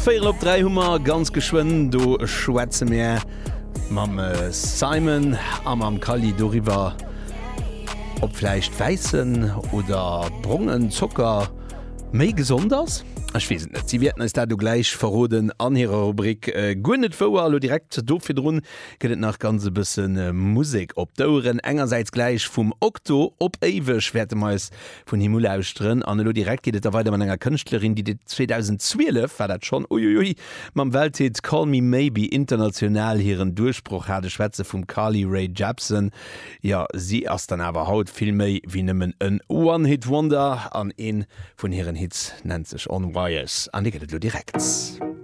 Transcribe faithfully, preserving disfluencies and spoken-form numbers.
Véierel op dräi hu mer, ganz geschwënn do schwätze mir mam Simon a mam Kally doriwwer, ob vläicht wäissen oder brongen Zocker méi gesond ass. Ech weess et net, si wäerten eis dat elo gläich verroden an hirer Rubrik Guer net wouer. Elo direkt do virdrun gëtt et nach ganz e bësse Musek op d'Oueren. Engersäits gläich vum Okto, Op éiweg wäerte mer eis vun him ulauschteren. An elo direkt geet et da weider mat enger Kënschtlerin, déi zweedausendzwielef war dat schonn, uiuiui, mam Welthit Call Me Maybe international hiren Duerchbroch hat. Ech schwätze vum Carly Rae Jepsen. Jo, si ass dann awer haut vill méi wéi nëmmen en One-Hit-Wonder an ee vun hiren Hits nennt sech On Wires an dee gëtt et elo direkt.